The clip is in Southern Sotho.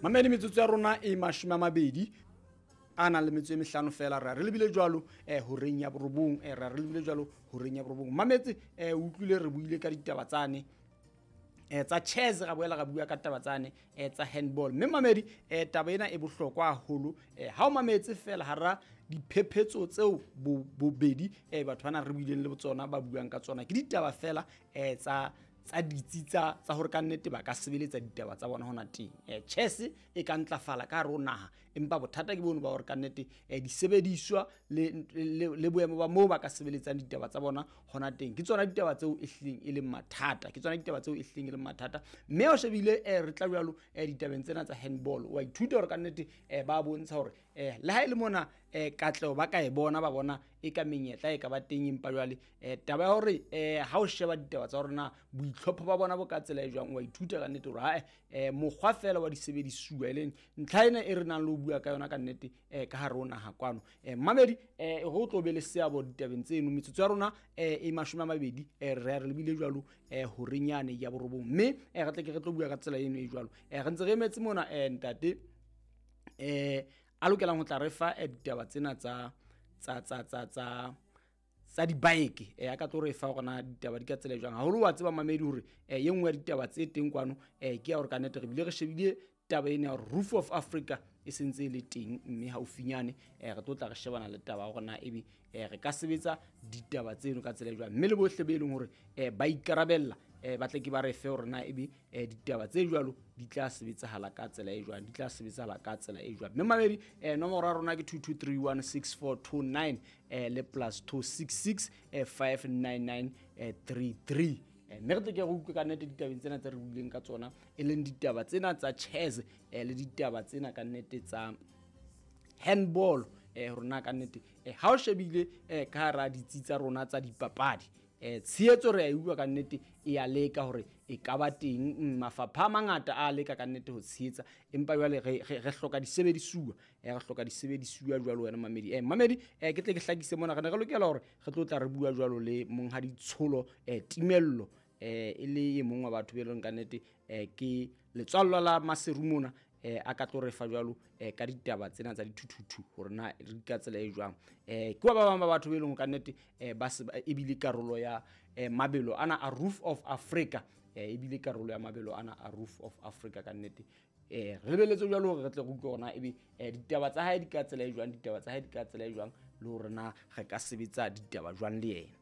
Mamedi, metsotso ya rona e 20 a nang le metso e 5 fela, re lebile jwalo horeng ya 9, re lebile jwalo horeng ya 9. Mametse, o utlwile re buile ka ditaba tsane tsa chess, ra boela ra bua ka taba tsane tsa handball. Mme mamedi, taba ena e bohlokwa haholo. Ha o mametse fela hara diphephetso tseo bobedi batho bana re buileng le tsona ba buang ka tsona, ke ditaba fela tsa ditsi tsa hore ka nnete ba ka sebeletsa ditaba tsa bona hona teng. Chess e ka ntlafala ka hare ho naha, empa bothata ke bono ba hore ka nnete disebediswa le boemo ba moo ba ka sebeletsang ditaba tsa bona hona teng, ke tsona ditaba tseo e hlileng e leng mathata, ke tsona ditaba tseo e hlileng e leng mathata. Mme o shebile re tla jwalo ditabeng tsena tsa handball, wa ithuta hore ka nnete ba bontsha hore le ha e le mona katleho ba ka e bona, ba bona e ka menyetla e ka ba teng, empa jwale taba ya hore ha o sheba ditaba tsa hore na boitlhopho ba bona bo ka tsela e jwang, wa ithuta ka nnete hore ha mokgwa fela wa disebedisuwa, e leng ntlha ena e re nang le ho bua ka yona ka nnete ka hare ho naha kwano. Mamedi, ho tlo be le seabo ditabeng tseno. Metsotso ya rona e 20, re lebile jwalo horeng yane ya 9, mme re tle ke re tlo bua ka tsela eno e jwalo. Re ntse re emetse mona ntate a lokelang ho tla re fa ditaba tsena tsa dibike, a ka tlo re fa hore na ditaba di ka tsela e jwang. Haholo wa tseba mamedi hore e nngwe ya ditaba tse teng kwano ke ya hore ka nnete re bile re shebile taba ena ya hore Roof of Africa e sentse e le teng, mme haufinyane re tlo tla re shebana le taba ya hore na ebe re ka sebetsa ditaba tseno ka tsela e jwang. Mme le bohle be leng hore ba ikarabella ba tle ke ba re fe hore na ebe ditaba tse jwalo di tla sebetsahala ka tsela e jwang, di tla sebetsahala ka tsela e jwang. Mme mamedi, nomoro ya rona ke 22316429 le +266 599 33. Mme re tle ke re utlwe ka nnete ditabeng tsena tse re buileng ka tsona, e leng ditaba tsena tsa chess le ditaba tsena ka nnete tsa handball, hore na ka nnete ha o shebile ka hara ditsi tsa rona tsa dipapadi, tshehetso re a e utlwa ka nnete e a leka hore e ka ba teng, mafapha a mangata a leka ka nnete ho tshehetsa, empa jwale re hloka disebedisuwa, re hloka disebedisuwa jwalo wena mamedi. Mamedi, ke tle ke hlakise mona, re ne re lokela hore re tlo tla re bua jwalo le monghadi Tsholo Timello, e le e mong wa batho be leng ka nnete ke letswallo la Maseru mona, a ka tlo re fa jwalo ka ditaba tsena tsa dithuthuthu hore na re ka tsela e jwang. Ke wa ba bang ba batho be leng ka nnete ba se ebile karolo ya mabelo ana a Roof of Africa, ebile karolo ya mabelo ana a Roof of Africa ka nnete. Re lebeletse jwalo hore re tle re utlwe hore na ebe ditaba tsa hae di ka tsela e jwang, ditaba tsa hae di ka tsela e jwang, le hore na re ka sebetsa ditaba jwang le yena.